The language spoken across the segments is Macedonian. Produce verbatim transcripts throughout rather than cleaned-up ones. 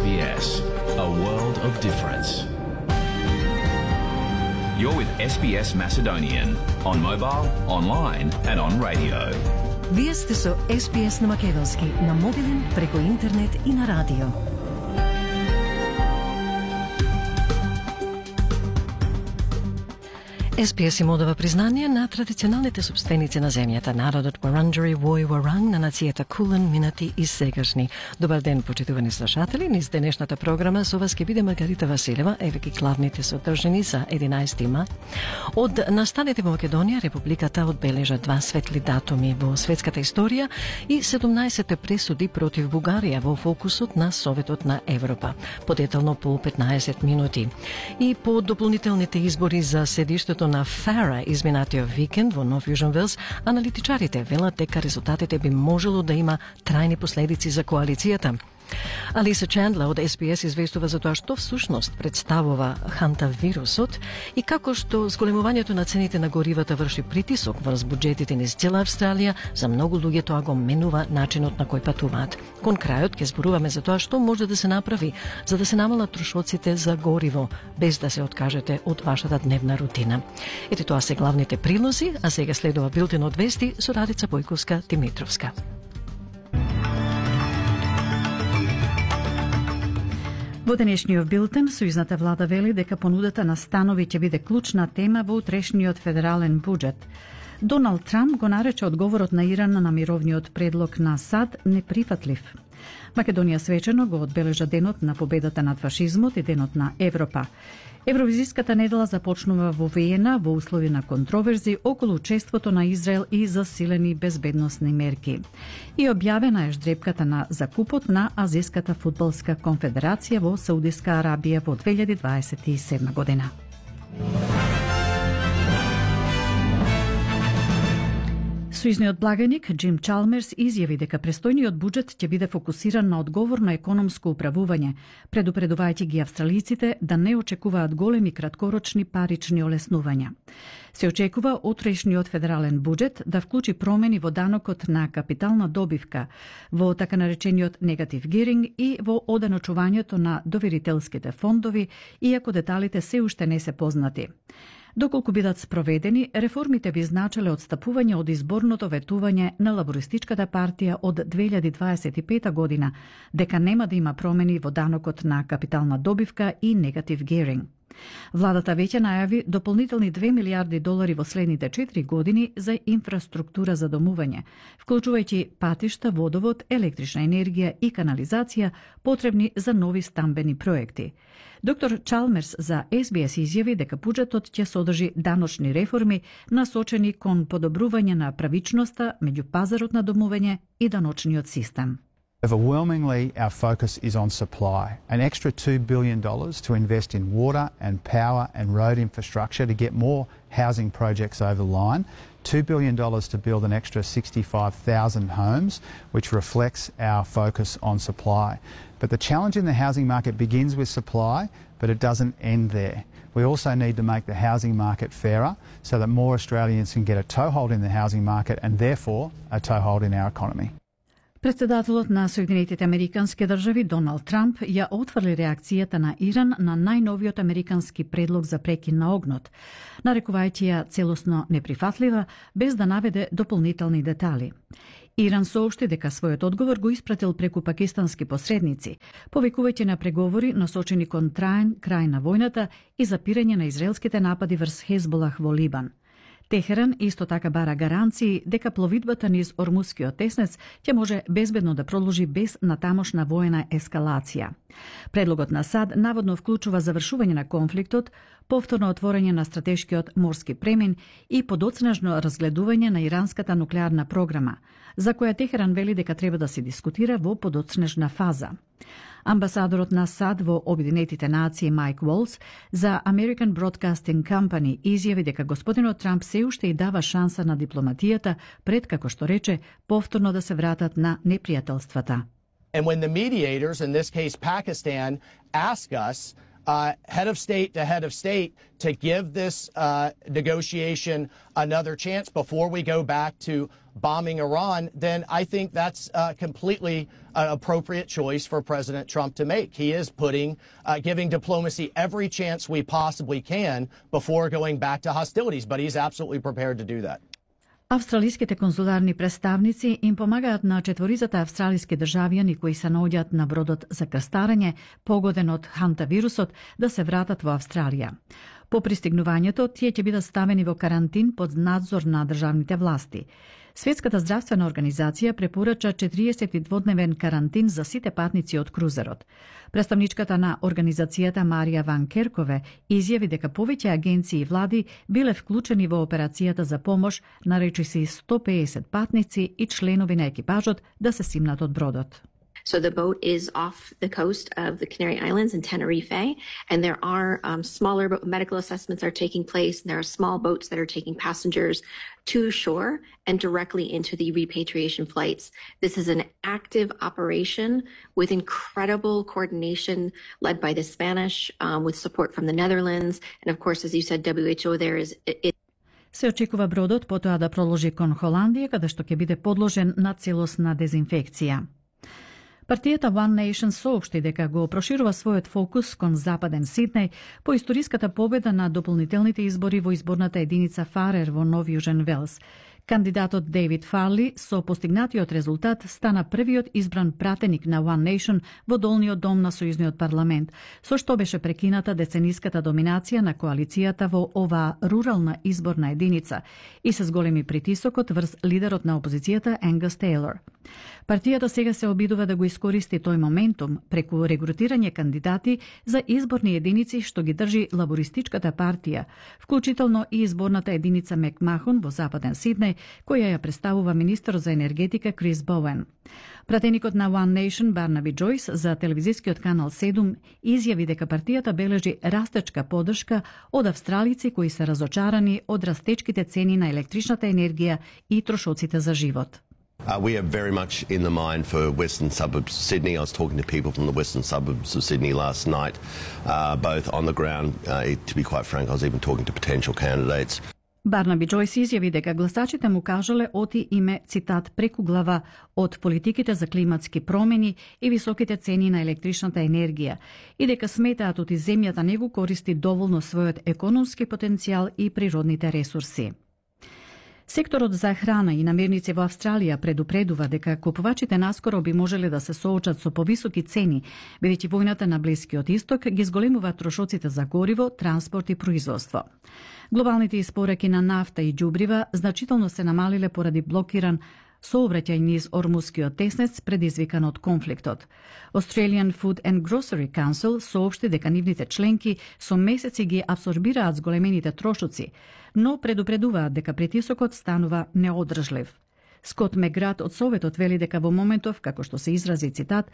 B S, a world of difference. You're with S B S Macedonian on mobile, online and on radio. Вие сте со С Б С на македонски, на мобилен, преку интернет и на радио. С Б С им одава признание на традиционалните собственици на земјата, народот Вуранџари Вој Варанг, на нацијата Кулен, минати и сегашни. Добар ден, почитувани слушатели, низ денешната програма со вас ќе биде Маргарита Василева, еве ги главните содржини за единаесети мај. Од настаните во Македонија, Републиката одбележа два светли датуми во светската историја и седумнаесет пресуди против Бугарија во фокусот на Советот на Европа. Подетално по петнаесет минути. И по дополнителните избори за седиштето на Фара изминатиот викенд во Нов Јужен Велс, аналитичарите велат дека резултатите би можело да има трајни последици за коалицијата. Алиса Чендлер од С Б С известува за тоа што всушност представува хантавирусот и како што зголемувањето на цените на горивата врши притисок врз буџетите низ цела Австралија, за многу луѓе тоа го менува начинот на кој патуваат. Кон крајот ќе зборуваме за тоа што може да се направи за да се намалат трошоците за гориво, без да се откажете од вашата дневна рутина. Ете тоа се главните прилози, а сега следува билтен од вести со Радица Бојковска-Димитровска. Во денешниот билтен, сојузната влада вели дека понудата на станови ќе биде клучна тема во утрешниот федерален буџет. Доналд Трамп го нарече одговорот на Иран на мировниот предлог на САД неприфатлив. Македонија свечено го одбележа денот на победата над фашизмот и денот на Европа. Евровизиската недела започнува во Виена во услови на контроверзи околу учеството на Израел и засилени безбедносни мерки. И објавена е ждрепката на закупот на Азиската фудбалска конфедерација во Саудиска Арабија во две илјади дваесет и седма година. Сојузниот благаник Џим Чалмерс изјави дека престојниот буџет ќе биде фокусиран на одговорно економско управување, предупредувајќи ги австралиците да не очекуваат големи краткорочни парични олеснувања. Се очекува утрешниот федерален буџет да вклучи промени во данокот на капитална добивка, во така наречениот негатив гиринг и во оданочувањето на доверителските фондови, иако деталите се уште не се познати. Доколку бидат спроведени, реформите би значеле одстапување од изборното ветување на Лабористичката партија од две илјади дваесет и пета година, дека нема да има промени во данокот на капитална добивка и негатив гиринг. Владата веќе најави дополнителни две милијарди долари во следните четири години за инфраструктура за домување, вклучувајќи патишта, водовод, електрична енергија и канализација потребни за нови стамбени проекти. Доктор Чалмерс за С Б С изјави дека буџетот ќе содржи даночни реформи насочени кон подобрување на правичноста меѓу пазарот на домување и даночниот систем. Overwhelmingly, our focus is on supply. An extra two billion dollars to invest in water and power and road infrastructure to get more housing projects over the line. two billion dollars to build an extra sixty-five thousand homes, which reflects our focus on supply. But the challenge in the housing market begins with supply, but it doesn't end there. We also need to make the housing market fairer so that more Australians can get a toehold in the housing market and therefore a toehold in our economy. Председателот на Соединетите Американски држави Доналд Трамп ја отфрли реакцијата на Иран на најновиот американски предлог за прекин на огнот, нарекувајќи ја целосно неприфатлива, без да наведе дополнителни детали. Иран соопшти дека својот одговор го испратил преку пакистански посредници, повикувајќи на преговори насочени кон траен крај на војната и запирање на израелските напади врз Хезболах во Либан. Техеран исто така бара гаранции дека пловидбата низ Ормускиот теснец ќе може безбедно да продолжи без натамошна воена ескалација. Предлогот на САД наводно вклучува завршување на конфликтот, повторно отворање на стратешкиот морски премин и подоцнежно разгледување на иранската нуклеарна програма, за која Техеран вели дека треба да се дискутира во подоцнежна фаза. Амбасадорот на САД во Обединетите нации Майк Волс за American Broadcasting Company изјави дека господинот Трамп се уште и дава шанса на дипломатијата пред, како што рече, повторно да се вратат на непријателствата. And when the mediators, in this case Pakistan, ask us uh, head of state to head of state to give this uh, negotiation another chance before we go back to bombing Iran, then I think that's uh, completely an appropriate choice for President Trump to make. He is putting, uh, giving diplomacy every chance we possibly can before going back to hostilities, but he's absolutely prepared to do that. Австралиските конзуларни представници им помагаат на четворицата австралиски државјани кои се наоѓаат на бродот за крстарење, погоден од ханта вирусот, да се вратат во Австралија. По пристигнувањето, тие ќе бидат ставени во карантин под надзор на државните власти. Светската здравствена организација препорача четириесеттидводневен карантин за сите патници од крузерот. Представничката на организацијата Марија Ван Керкове изјави дека повеќе агенции и влади биле вклучени во операцијата за помош, наречиси сто пеесет патници и членови на екипажот да се симнат од бродот. So the boat is off the coast of the Canary Islands in Tenerife, and there are um, smaller medical assessments are taking place, and there are small boats that are taking passengers to shore and directly into the repatriation flights. This is an active operation with incredible coordination led by the Spanish, um, with support from the Netherlands, and of course, as you said, W H O there is... It Се очекува бродот потоа да проложи кон Холандија, каде што ќе биде подложен на целосна дезинфекција. Партијата One Nation соопшти дека го проширува својот фокус кон западен Сиднеј по историската победа на дополнителните избори во изборната единица Фарер во Нов Јужен Велс. Кандидатот Дейвид Фарли со постигнатиот резултат стана првиот избран пратеник на One Nation во долниот дом на Сојузниот парламент, со што беше прекината децениската доминација на коалицијата во оваа рурална изборна единица и се зголеми притисокот врз лидерот на опозицијата Енгас Тейлор. Партијата сега се обидува да го искористи тој моментум преку регрутирање кандидати за изборни единици што ги држи лабористичката партија, вклучително и изборната единица Мекмахон во западен Сиднеј, која ја представува министерот за енергетика Крис Боуен. Пратеникот на One Nation Барнаби Джойс за телевизискиот канал седум изјави дека партијата бележи растечка поддршка од австралици кои се разочарани од растечките цени на електричната енергија и трошоците за живот. Uh, we are very much in the mind for western suburbs of Sydney. I was talking to people from the western suburbs of Sydney last night, uh, both on the ground. Uh, to be quite frank, I was even talking to potential candidates. Барнаби Джойс изјави дека гласачите му кажале оти име, цитат, преку глава од политиките за климатски промени и високите цени на електричната енергија и дека сметаат оти земјата не го користи доволно својот економски потенцијал и природните ресурси. Секторот за храна и намирници во Австралија предупредува дека купувачите наскоро би можеле да се соочат со повисоки цени, бидејќи војната на Блискиот Исток ги зголемува трошоците за гориво, транспорт и производство. Глобалните испораки на нафта и џубрива значително се намалиле поради блокиран сообраќај низ Ормускиот теснец предизвикан од конфликтот. Australian Food and Grocery Council соопшти дека нивните членки со месеци ги абсорбираат зголемените трошоци, но предупредуваат дека притисокот станува неодржлив. Скот Меград од Советот вели дека во моментов, како што се изрази цитат,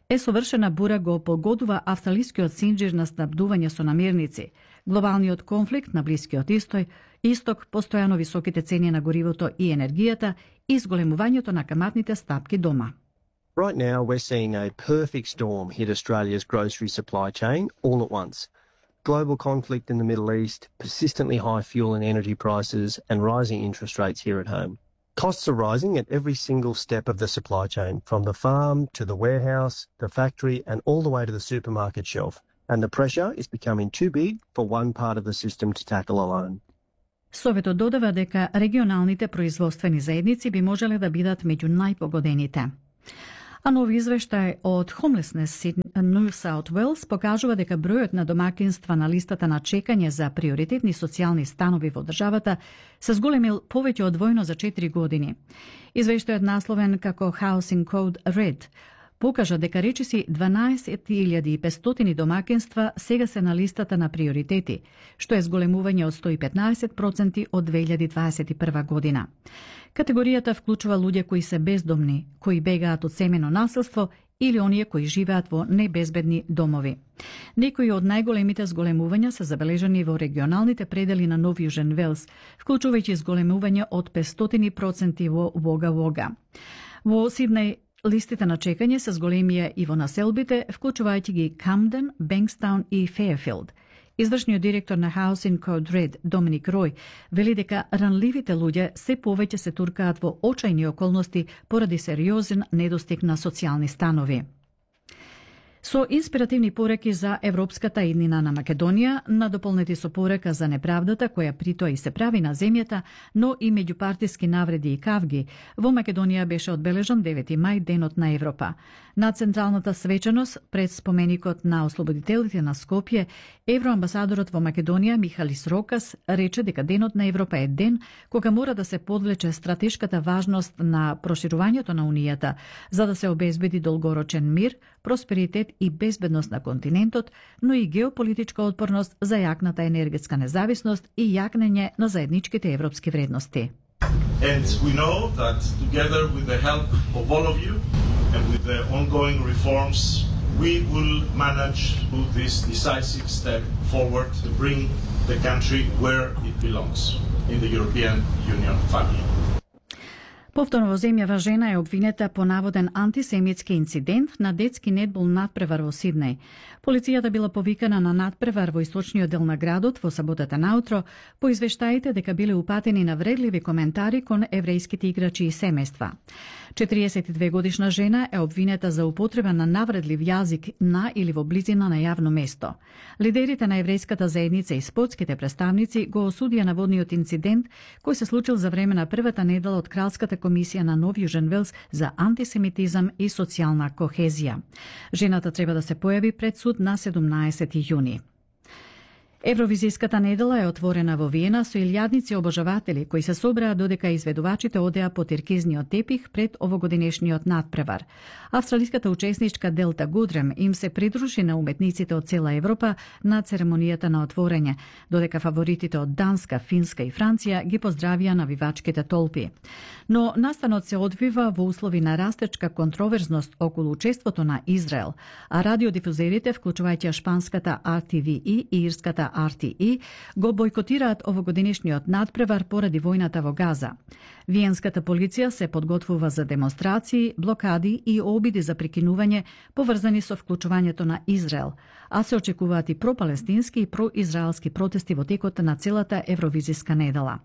е совршена бура го погодува австралискиот синџир на снабдување со намирници, глобалниот конфликт на Блискиот Исток, Исток, постојано високите цени на горивото и енергијата и зголемувањето на каматните стапки дома. Right now we're seeing a perfect storm hit Australia's grocery supply chain all at once. Global conflict in the Middle East, persistently high fuel and energy prices, and rising interest rates here at home. Costs are rising at every single step of the supply chain, from the farm to the warehouse, the factory, and all the way to the supermarket shelf. And the pressure is becoming too big for one part of the system to tackle alone. Советот додава дека регионалните производствени заедници би можеле да бидат меѓу најпогодените. А нови извештај од Homelessness New South Wales покажува дека бројот на домакинства на листата на чекање за приоритетни социјални станови во државата се зголемил повеќе од двојно за четири години. Извештајот насловен како Housing Code Red покажа дека речиси дванаесет илјади и петстотини домакинства сега се на листата на приоритети, што е зголемување од сто и петнаесет проценти од две илјади дваесет и прва година. Категоријата вклучува луѓе кои се бездомни, кои бегаат од семено насилство или оние кои живеат во небезбедни домови. Некои од најголемите зголемувања се забележани во регионалните предели на Нов Јужен Велс, вклучувајќи зголемување од петстотини проценти во Вога Вога. Во Сиднеј листите на чекање се зголемија и во населбите, вклучувајќи ги Камден, Бенкстаун и Фејерфилд. Извршниот директор на Housing Code Red, Доминик Рој, вели дека ранливите луѓе се повеќе се туркаат во очајни околности поради сериозен недостиг на социјални станови. Со инспиративни пореки за европската иднина на Македонија, надополнети со порека за неправдата која притоа и се прави на земјата, но и меѓупартиски навреди и кавги, во Македонија беше одбележан девети мај, денот на Европа. На централната свечаност пред споменикот на ослободителите на Скопје, евроамбасадорот во Македонија Михалис Рокас рече дека денот на Европа е ден кога мора да се подвлече стратешката важност на проширувањето на Унијата, за да се обезбеди долгорочен мир, просперитет и безбедност на континентот, но и геополитичка отпорност за јакната енергетска независност и јакнење на заедничките европски вредности. And we know that together with the help of all of you and with the ongoing reforms, we will manage to do this decisive step forward to bring the country where it belongs, in the European Union family. Повторно во земјава жена е обвинета по наводен антисемитски инцидент на детски нетбол надпревар во Сиднеј. Полицијата била повикана на надпревар во источниот дел на градот во саботата наутро по извештаите дека биле упатени навредливи коментари кон еврејските играчи и семејства. четириесет и две годишна жена е обвинета за употреба на навредлив јазик на или во близина на јавно место. Лидерите на еврејската заедница и спортските представници го осудија наводниот инцидент кој се случил за време на првата недела од Кралската комисија на Нов Јужен Велс за антисемитизам и социјална кохезија. Жената треба да се појави пред суд на седумнаесети јуни. Евровизиската недела е отворена во Виена со илјадници обожаватели кои се собраа додека изведувачите одеа по тиркизниот тепих пред овогодинешниот надпревар. Австралиската учесничка Делта Гудрем им се придружи на уметниците од цела Европа на церемонијата на отворење, додека фаворитите од Данска, Финска и Франција ги поздравија навивачките толпи. Но настанот се одвива во услови на растечка контроверзност околу учеството на Израел, а радиодифузерите, вклучувајќи шпанската Ар Ти Ви И и ирската Ар Ти И, го бојкотираат овогодинешниот надпревар поради војната во Газа. Виенската полиција се подготвува за демонстрации, блокади и обиди за прекинување поврзани со вклучувањето на Израел, а се очекуваат и пропалестински и произраелски протести во текот на целата евровизиска недела.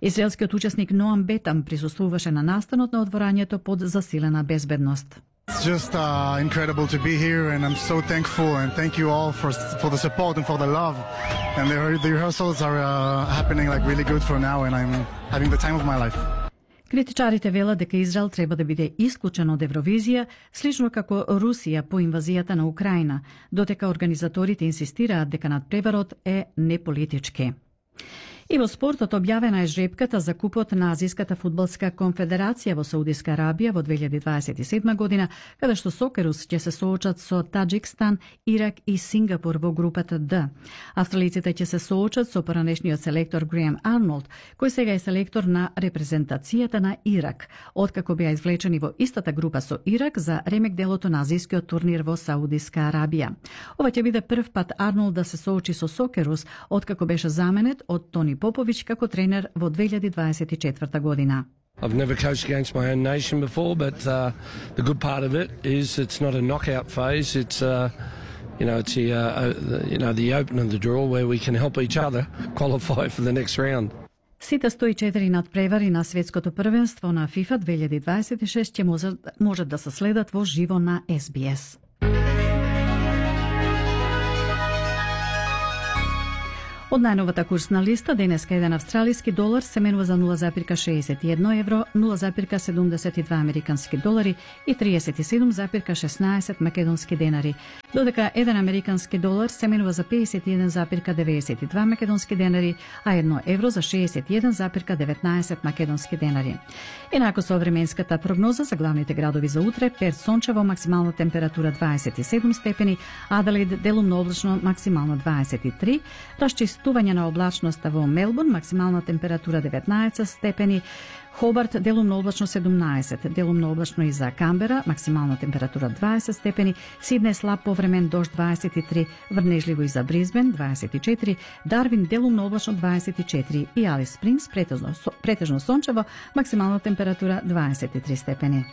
Израелскиот учесник Ноам Бетам присуствуваше на настанот на отворањето под засилена безбедност. It's just uh, incredible to be here, and I'm so thankful, and thank you all for for the support and for the love. And the, the rehearsals are uh, happening like really good for now, and I'm having the time of my life. Критичарите велат дека Израел треба да биде исклучен од Евровизија, слично како Русија по инвазијата на Украина, додека организаторите инсистираат дека надпреварот е неполитички. И во спортот објавена е жребката за купот на Азиската фудбалска конфедерација во Саудиска Арабија во две илјади дваесет и седма година, каде што Сокерус ќе се соочат со Таџикстан, Ирак и Сингапур во групата Д. Австралиците ќе се соочат со поранешниот селектор Греем Арнолд, кој сега е селектор на репрезентацијата на Ирак, откако беа извлечени во истата група со Ирак за ремек делото на азискиот турнир во Саудиска Арабија. Ова ќе биде прв пат Арнолд да се соочи со Сокерус, откако беше заменет од Тони Попович како тренер во две илјади дваесет и четврта година. I've never coached against my own nation before, but uh, the good part of it is it's not a knockout phase. It's uh, you know, it's the uh, you know the open of the draw where we can help each other qualify for the next round. Сите сто и четири надпревари на светското првенство на FIFA две илјади дваесет и шест ќе можат, можат да се следат во живо на Ес Би Ес. Од најновата курсна листа, денеска еден австралиски долар се менува за нула запирка шеесет и едно евро, нула запирка седумдесет и два американски долари и триесет и седум запирка шеснаесет македонски денари, додека еден американски долар се менува за пеесет и еден запирка деветдесет и два македонски денари, а едно евро за шеесет и еден запирка деветнаесет македонски денари. Енако со временската прогноза за главните градови за утре: Перт сончево, максимална температура дваесет и седум степени, Аделаид делумно облачно, максимално дваесет и три, расчистување на облачноста во Мелбурн, максимална температура деветнаесет степени, Хобарт делумно облачно седумнаесет, делумно облачно и за Камбера, максимална температура дваесет степени, Сиднеј слаб повремен дожд дваесет и три, врнежливо и за Бризбен дваесет и четири, Дарвин делумно облачно дваесет и четири и Алис Спрингс претежно, претежно сончево, максимална температура дваесет и три степени.